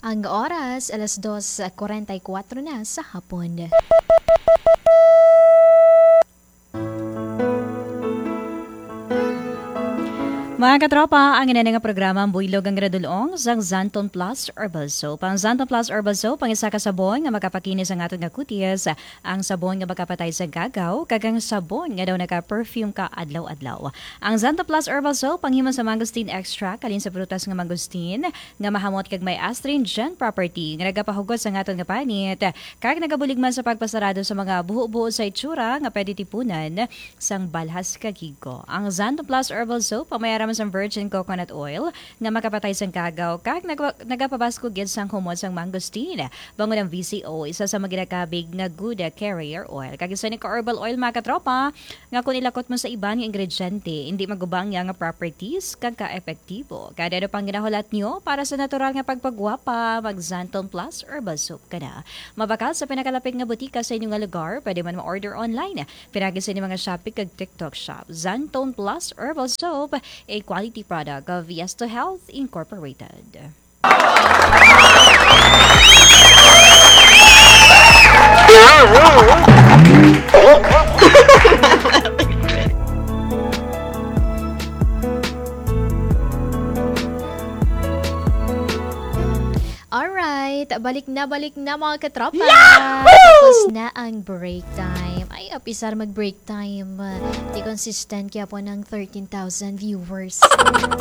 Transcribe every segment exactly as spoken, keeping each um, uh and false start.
Ang oras, alas dos kuwarenta y kuwatro na sa hapon. Mga katropa, ang ina nga programa ang buylog ang radulong sang Xanthone Plus Herbal Soap. Ang Xanthone Plus Herbal Soap ang isa ka sabon nga makapakinis ang aton nga kutis. Ang sabon nga makapatay sa gagaw, kag ang sabon nga daw naka-perfume ka adlaw-adlaw. Ang Xanthone Plus Herbal Soap panghimo sa mangosteen extract, halin sa prutas nga mangosteen, nga mahamot kag may astringent property nga nagapahugot sa aton nga panit kag nagabulig man sa pagpasarado sa mga buho-buho sa itsura nga pwede tipunan sang balhas kag higo. Ang Xanthone Plus Herbal Soap ang may ara man sang virgin coconut oil nga makapatay sang gagaw kag nagwa-, nagapabaskog gid sang humot sang mangosteen. Bangod ang V C O, isa sa mga ginakabig nga good carrier oil. Kag isa ni ka herbal oil, mga katropa, nga kung ilakot mo sa iban nga ingrediente, hindi magubang niya nga properties kag ka-epektibo. Kada ano pang ginahulat nyo para sa natural nga pagpagwapa, mag Xanthone Plus Herbal Soap ka na. Mabakal sa pinakalapit nga butika sa inyo nga lugar, pwede man ma-order online. Pinagi sa inyo mga Shopee kag TikTok Shop. Xanthone Plus Herbal Soap, a quality product of Yes to Health Incorporated. Alright, balik na, balik na, mga katropa. Yahoo! Tapos na ang break time. Ay, apisar mag-break time. Di consistent kaya po ng thirteen thousand viewers.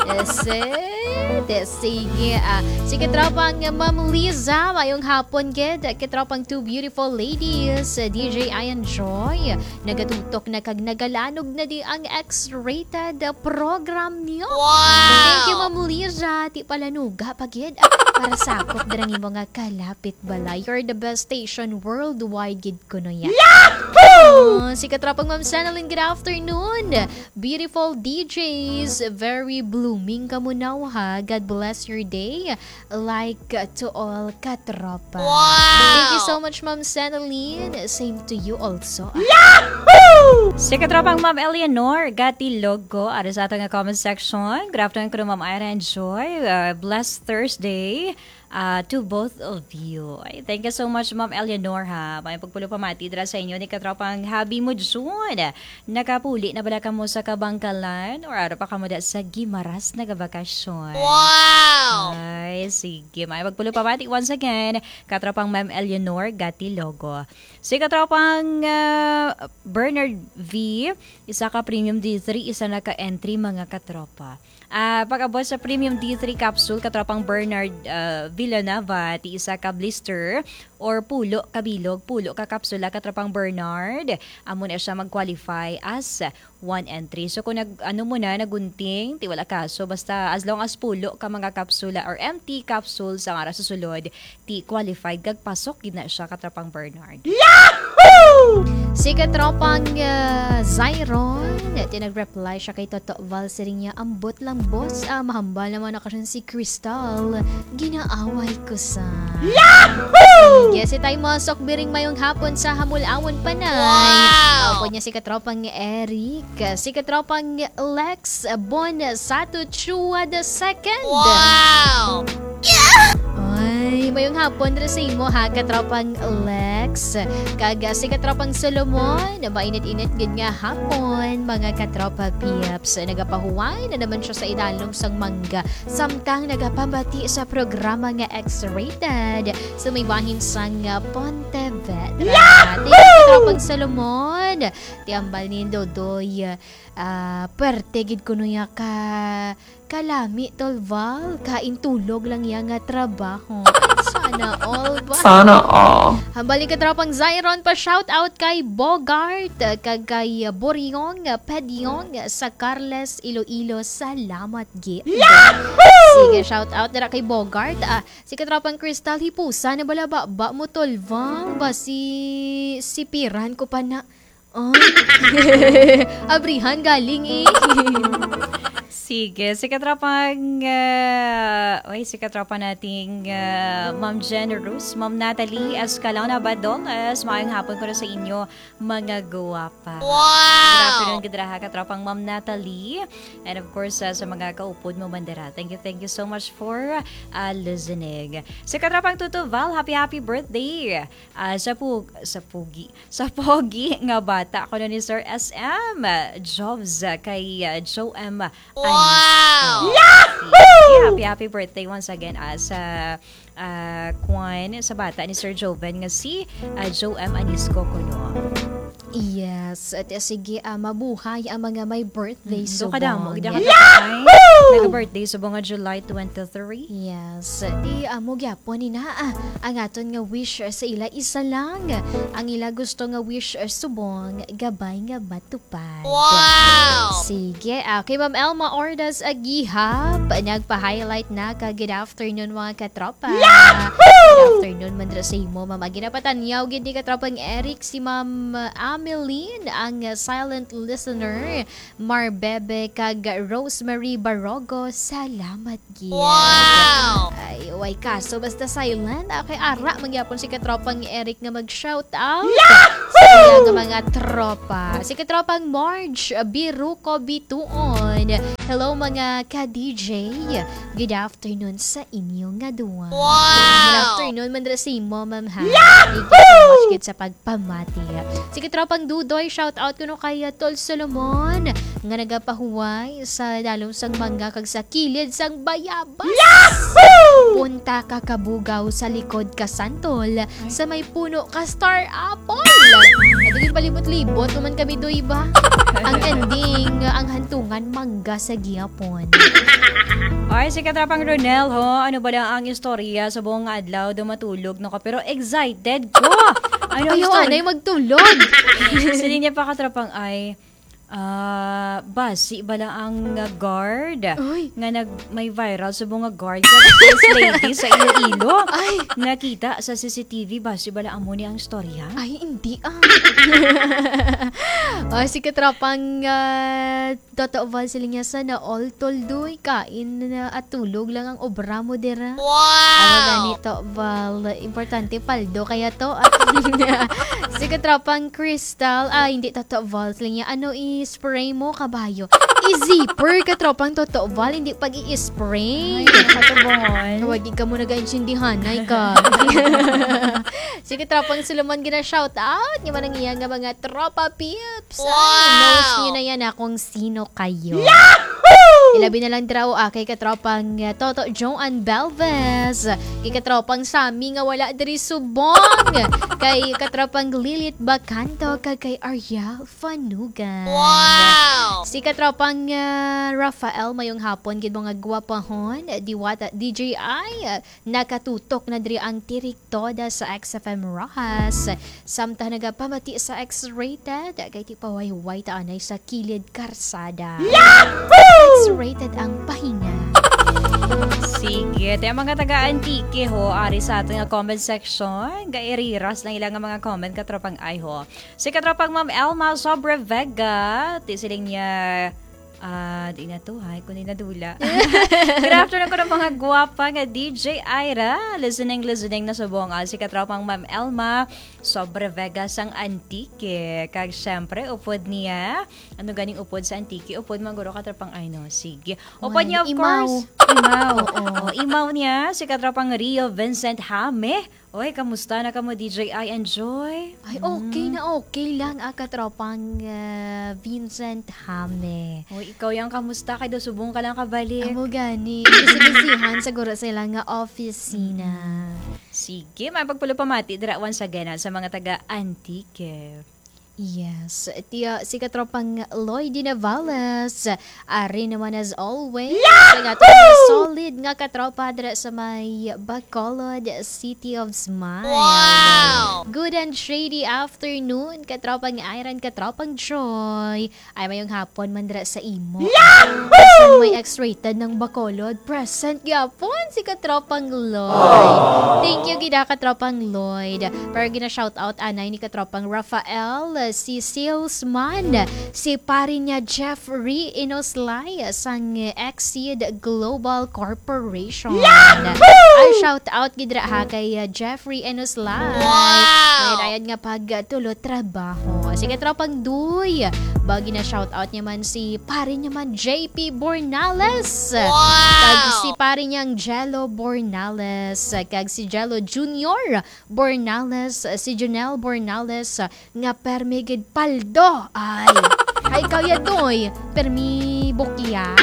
Yes, eh. Sige, ah. Si katropang Ma'am Liza, mayong hapon gid. Katropang two beautiful ladies, D J Ian Joy. Nagatutok na kag nagalanog na di ang X-rated program niyo. Wow! Thank you, Ma'am Liza. Ti palanuga pa gid. Ah, para sakop dira ang imo nga kalapit balay. You're the best station worldwide gid kuno ya. Yahoo! Oh, si katropang Ma'am Sanalyn, good afternoon. Beautiful D Js, very blooming kamo now, ha. God bless your day. Like to all katropa. Wow! Thank you so much, Ma'am Sanalyn. Same to you also. Yahoo! Si katropang Ma'am Eleanor Gatilogo, ari sa ato nga comment section. Good afternoon kuno, Ma'am Ira and Joy. Uh, blessed Thursday, uh, to both of you. Ay, thank you so much, Ma'am Eleanor, ha. May pagpulo pamati dira sa inyo ni katropang Habi mo, June. Nakapuli na bala kamo sa Kabangkalan or ara pa kamo da sa Guimaras nagabakasyon? Wow! Ay, sige. May magpulo pamati once again, katropang Ma'am Eleanor Gatilogo. Si katropang, ah, Bernard V, isa ka premium D three, isa na ka entry, mga katropa. Ah, pag-abot sa premium D three capsule, katropang Bernard, ah, Villanueva, ti isa ka blister or pulo ka bilog, pulo ka kapsula, katropang Bernard, amo na siya mag-qualify as one entry. So, kung nag-, ano mo na, nagunting, ti wala kaso. Basta, as long as pulo ka mga kapsula or empty capsules ang ara sa sulod, ti qualified kag pasok gid na siya, katropang Bernard. Yahoo! Si katropang, ah, Zyron, ti nag-reply siya kay Toto Val, siling niya, "Ambot lang, boss, ah, mahambal naman ako siya si Crystal, ginaaway ko sa." Yahoo! Sige, si Tay Mosok Biring, mayong hapon sa Hamulawon, Panay. Wow! Opo niya si katropang Eric, si katropang Lex Bon Sato Chua the second. Wow! Ay, mayong hapon ra sa imo, ha, katropang Lex. Kag, ah, si katropang Solomon, mainit-init gid nga hapon, mga katropa peeps. Nagapahuway na naman siya sa idalom sang mangga. Samtang nagapamati sa programa nga X-rated sa may bahin sang, ah, Pontevedra. Yahoo! Thank you, Katropang Solomon. Ti ambal ni Dodoy, ah, perte gid kuno ya ka kalami, Tol Val. Kain tulog lang ya nga trabaho. Sana all ba? Sana all. Hambal ni Katropang Zyron pa shout out kay Bogart, ah, kag kay, ah, Boryong, ah, Pedyong, ah, sa Carles, Iloilo. Salamat gid. Yahoo! Sige, shout out dira kay Bogart. Ah, si Katropang Crystal, hipusa na bala ba, ba mo, Tol Val? Basi sipiran ko pa na. Oh. Abrihan galing eh. Sige, si katropang, ah, oy, si katropa nating, ah, Ma'am Jen Rose, Ma'am Natalie Escalona Badolas, maayong hapon ko na sa inyo, mga guwapa. Wow! Good afternoon, gid ra ha, katropang Ma'am Natalie. And of course, ah, sa mga kaupod mo, Bandera. Thank you, thank you so much for, ah, listening. Si katropang Tuto Val, happy, happy birthday. Ah, sa pug-, sa pugi, sa pogi nga bata, kuno ni Sir S M Jobs, ah, kay, ah, Joe M Anisco. Wow! Yahoo! Happy, happy birthday once again, ah, sa, ah, kwan, sa bata ni Sir Joven nga si, ah, Joe M Anisco kuno. Yes. At, ah, sige, ah, mabuhay ang mga may birthday Mm, do subong. Kadamo, gid ang Yahoo! Nag-birthday subong nga July twenty-three. Yes. Di amo gyapon ni na, ah, ang aton nga wish, ah, sa ila isa lang. Ang ila gusto nga wish, ah, subong, gabay nga matupad. Wow! Sige, ah, kay Ma'am Elma Ordas Agihap, nagpa-highlight na ka, good afternoon, mga katropa. Yahoo! Good afternoon man dira sa imo, Ma'am. Ang ginapatanyaw gid ni katropang Eric, si Ma'am, ah, Ameline, ang, ah, silent listener. Marbebe kag Rosemary Barogo, salamat gid. Wow! Ay, way kaso, basta silent. Okay, ara, magyapon si katropang Eric nga mag-shout out. Yahoo! Sa iya nga mga tropa. Si katropang Marge Biruko Bituon. Hello, mga ka-D J. Good afternoon sa inyo nga duwa. Wow! Good afternoon man dira sa imo, ma'am, ha? Yahoo! Thank you so much gid sa pagpamati. Si katropang Dudoy, shout out kuno kay, uh, Tol Solomon nga nagapahuway sa dalom sang mangga kag sa kilid sang bayabas. Yahoo! Punta ka kabugaw sa likod ka santol sa may puno ka star apple. At di palimot-libot naman kami, Doy, ba? Ang ending, ang hantungan, mangga sa gihapon. Ay, si Katrapang Ronel, ho, ano ba lang ang istorya sa buong adlaw? Daw matulog na ko, pero excited ko. Ano ang Ayaw, istorya? Anay, magtulog. Sili niya pa, Katrapang, ay, ah, basi ba lang ang, ah, guard Uy. Nga nag-, may viral sa mga guard sa first lady sa Iloilo? Ay. Nakita sa C C T V, basi ba lang amo ni ang istorya? Ay, hindi, ah. Oh, si Katrapang, ah, Toto Val, sila niya, "Sana all, tol, doy. Kain na at tulog lang ang obra mo dira." Wow! Ano gani, to, Val? Importante, paldo kaya to. At si Katropang Crystal, ah, hindi, Toto Val, sila niya, "Ano i-spray mo, kabayo?" I-zipper, Katropang Toto Val, hindi pag i-spray. Ay, katubon. Wagi ka mo nag-intindihan, ay ka. Si Katropang Solomon, gina-shout out. Nga man ang iya nga mga tropa, peeps. Wow! Ay, knows niyo na yan, ah, kung sino kayo. Yahoo! Ilabi na lang dira, ah, kay katropang, ah, Toto Joan Belves, kay katropang Sammy nga wala diri subong, kay katropang Lilith Bacanto, kag kay Ariel Fanugan. Wow! Si katropang, ah, Rafael, mayong hapon, gid mga gwapahon, Diwata, D J I, ah, Nakatutok na diri ang tirik toda sa X F M Roxas. Samtang nagapamati sa X-rated, kay ti pahuway-huway ta anay sa kilid karsada. Yahoo! X-rated ang pahinga. Sige, ti ang mga taga Antique, ho, ari sa aton nga comment section. Gairiras lang ilang nga mga comment, katropang ay, ho. Si katropang Ma'am Elma Sobre Vega, ti siling niya, Ah, di na to, hay, kundi nadula. Good afternoon ko ng mga guwapa nga D J Ira. Listening, listening na subong. Ah, si katropang Ma'am Elma Sobre Vega sang Antique. Kag syempre, upod niya. Ano ganing upod sa Antique? Upod man guro, katropang ay, no? Sige. Upod Well, niya, of imaw. Course. Imaw. Oo. Oh, imaw niya, si katropang Rio Vincent Hame. Oy, kamusta na kamo, D J I and Joy? Ay, okay Mm. na okay lang, ah, katropang, ah, Vincent Hame. Oy, ikaw yang kamusta? Kay daw subong ka lang kabalik. Amo gani. Busy-busyhan siguro sila nga opisina. Mm. Sige, may pagpulupamati dira once again, ah, sa mga taga Antique. Yes. Tiya, si katropang Lloyd Navales, ari naman as always. Yahoo! Ang aton solid nga katropa dira sa may Bacolod, City of Smile. Wow! Good and shady afternoon, katropang Iron, katropang Joy. Ay, mayong hapon man dira sa imo. Yahoo! Bisan may X-rated ng Bacolod, present gyapon si katropang Lloyd. Aww. Thank you, gid, ah, katropang Lloyd. Pero gina-shoutout anay ni katropang Rafael si salesman, si pare niya Jeffrey Inoslay sang Exceed Global Corporation. Yahoo! Ay, shout out gid ra ha kay, uh, Jeffrey Inoslay. Wow! May dayad nga pagtulo trabaho. Sige, tropang Duy. Bagi na shout out niya man si pare niya man J P Bornales. Wow! Kag si pare niyang Jello Bornales. Kag si Jello Junior Bornales, si Junel Bornales, nga permi gid paldo. Ay, ay, ikaw ya, Doy, permi bukya.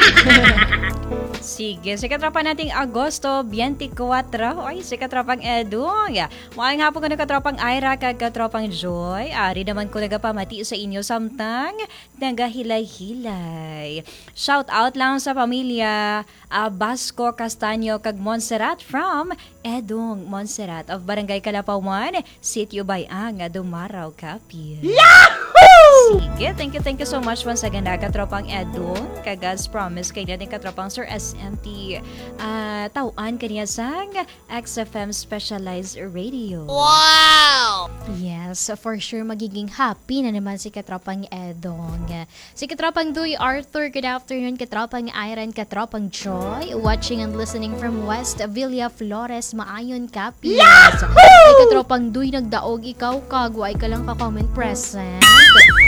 Sige, si katropa nating Agosto twenty-four. Oy, si katropang Edong. Maayong hapon kuno katropang Ira kag katropang Joy. Ari naman ko nagapamati sa inyo samtang nagahilay-hilay. Shout out lang sa pamilya, ah, Basco Castaño kag Montserrat from Edong Montserrat of Barangay Kalapawan, Sitio Bayang, Dumaraw, Capiz. Yahoo! Sige, thank you, thank you so much once again, ah, katropang Edong. Kag as promise kay ni katropang Sir S M T, ah, tawaan kaniya sang X F M Specialized Radio. Wow! Yes, for sure, magiging happy na naman si katropang Edong. Si katropang Duy Arthur, good afternoon. Katropang Iron, katropang Joy, watching and listening from West Villa Flores, Maayon, Capiz. Yahoo! Ay, katropang Duy, nagdaog ikaw kag wa ka lang ka-comment present.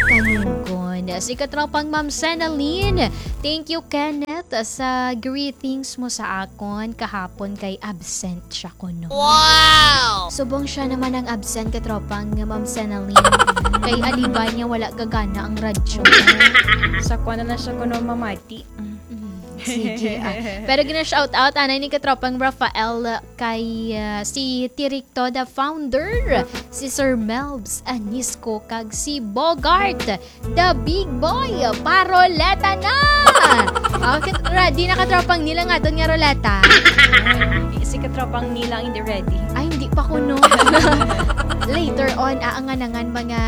Kanunggon. Si katropang Ma'am Senalyn, thank you, Kenneth, sa greetings mo sa akon kahapon kay absent siya kuno. Wow! Subong siya naman ang absent, katropang Ma'am Senalyn. Kay alibay niya wala gagana ang radyo. Sa kuwan na lang siya kuno mamati. Mm, sige, ah. Pero gina-shout out anay ni katropang Rafael kay, ah, si Tirik Toda founder, si Sir Melbs Anisco, kag si Bogart, the big boy, paroleta na! Okay, ready na katropang Neil ang aton nga roleta? Ay, si katropang Neil ang hindi ready. Ay, hindi pa kuno. Later on, aanganangan mga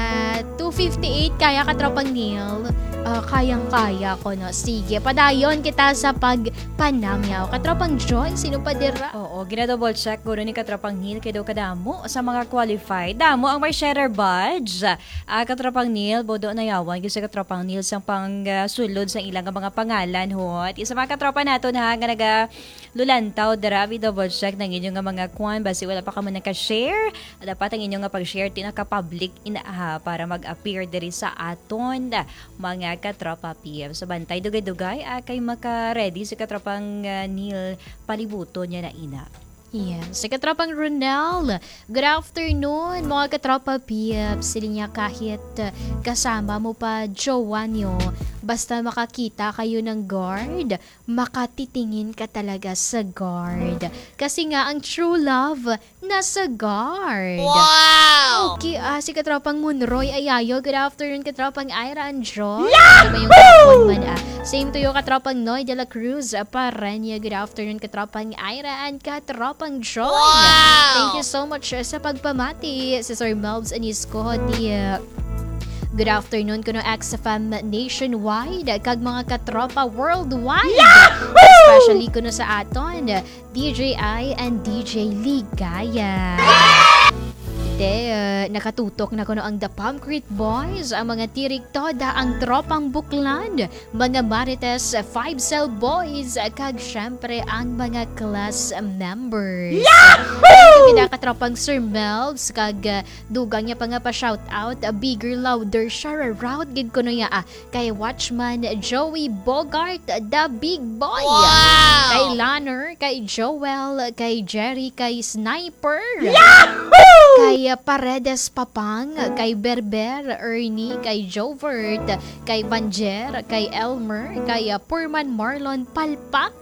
two fifty-eight, kaya katropang Neil. Ah, kayang-kaya ko, no? Sige, padayon kita sa pagpanamyaw. Katropang Joy, sino pa dira? Oo, gina-double check kuno ni katropang Neil kay daw kadamo sa mga qualified. Damo ang may sharer badge. Ah, katropang Neil, bodo na yawan gyud sa katropang Neil sang pang, ah, sulod sa ilang mga pangalan, hot. Isa mga katropa naton, ha, nga naga lulantaw dira, i-double check ang inyo nga mga kwan, basi wala pa kamo naka-share. Dapat ang inyo nga pag-share, ti naka-public ina, ha, para mag-appear diri sa aton, mga katropa P M. So, bantay, dugay-dugay, ah, kay maka-ready si katropang, ah, Neil palibuton niya na ina. Yes. Si katropang Ronel, good afternoon, mga katropa P M. Sila niya kahit, ah, kasama mo pa, jowa niyo, basta makakita kayo ng guard, makatitingin ka talaga sa guard. Kasi nga, ang true love nasa guard. Wow! Okay, ah, si katropang Munroy Ayayo. Good afternoon, katropang Ira and Joy. Yahoo! Ano ba yung hapon man, ah? Same to you, katropang Noy de la Cruz, ah, Parenya. Good afternoon, katropang Ira and katropang Joy. Wow! Thank you so much, ah, sa pagpamati. Si Sir Melbs Anisco, di, ah, good afternoon kuno X F M nationwide kag mga katropa worldwide. Yahoo! Especially kuno sa aton D J I and D J Ligaya. There, nakatutok na kuno ang The Palm Creek Boys, ang mga Tirik Toda, ang Tropang Buklan, mga Marites, Five Cell Boys, kag syempre ang mga class members. Yahoo! Thank you, katropang Sir Melbs, kag, uh, dugang niya pa nga pa-shout out, uh, bigger, louder, share out gid kuno ya, ah, kay Watchman Joey Bogart, the big boy. Wow! Kay Lanner, kay Joel, kay Jerry, kay Sniper. Yahoo! Kay, uh, Paredes Papang, kay Berber, Ernie, kay Jovert, kay Vanjer, kay Elmer, kay, uh, Purman Marlon Palpak,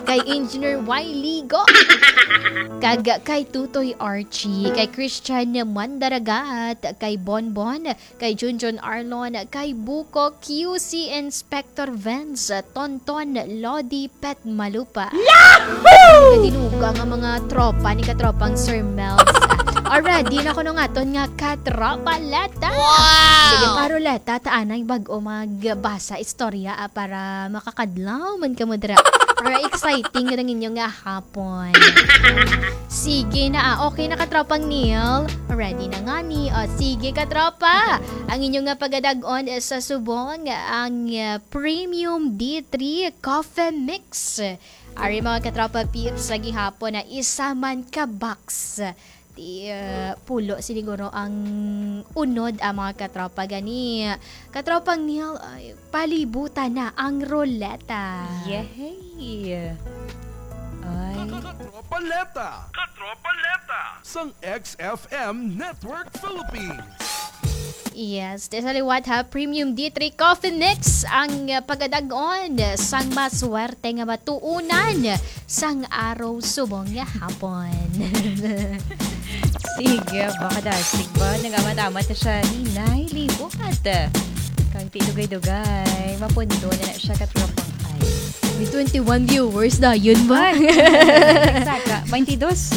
kay Engineer Y Ligo, kag kay Tutoy Archie, kay Christian Mandaragat, kay Bonbon, kay Junjun Arlon, kay Buko, Q C Inspector Vince, Tonton, Lodi, Pet Malupa. Yahoo! Kadinuga nga mga tropa ni katropang Sir Melbs. Already na kuno nga aton nga katropa Leta. Sige pa, Roleta, ta anay bag-o magbasa istorya, ah, para makakadlaw man kamo dira. Para exciting ang inyo nga hapon. Sige na, ah. Okay na, katropang Neil. Ready na nga ni. O, sige, katropa. Ang inyo nga pagadag-on, eh, sa subong, ang, ah, Premium D three Coffee Mix. Ari, mga katropa peeps, sa gihapon na isa man ka box. Ti, ah, pulo siguro ang unod, ah, mga katropa. Gani, katropang Neil, ay, palibutan na ang roleta. Yehey! Ay. Katropa Leta. Katropa Leta. Sang X F M Network Philippines. Yes, di sa liwat ha, Premium D three Coffee Mix ang, uh, pagadag-on sang maswerte nga matuunan sang araw subong nga hapon. Sige, baka dasig ba? Nangamatamata siya ni Nay Liwat. Kang ti dugay-dugay, mapundo na na siya katropang ay. May twenty-one viewers dayon ba? Ay, saka, twenty-dos.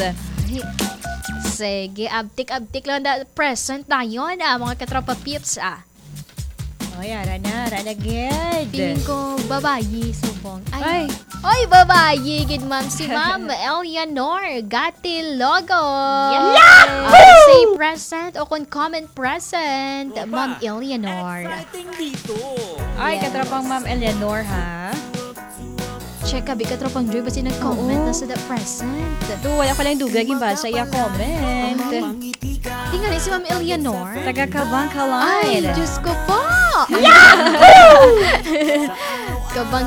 Sige, abtik-abtik lang da, present dayon, ah, mga katropa peeps, ah. Oy, ara na, ara na gid. Feeling ko, babayi, subong. Ay. Ay. Oy, babayi, gid, ma'am. Si Ma'am Eleanor Gatilogo. Yes! Yahoo! Say present o kung comment present, Tropa, Ma'am Eleanor. Exciting dito. Ay, yes, katropang Ma'am Eleanor, ha? Check ka, bi, katropang Joy, basi nag-comment Oo. na sa the present. Do, wala ko lang dugay, gimbasa iya comment. Ay. Tingnan si Ma'am Eleanor. Taga Kabangkalan. Ay, Diyos ko po! Yahoo! Kabang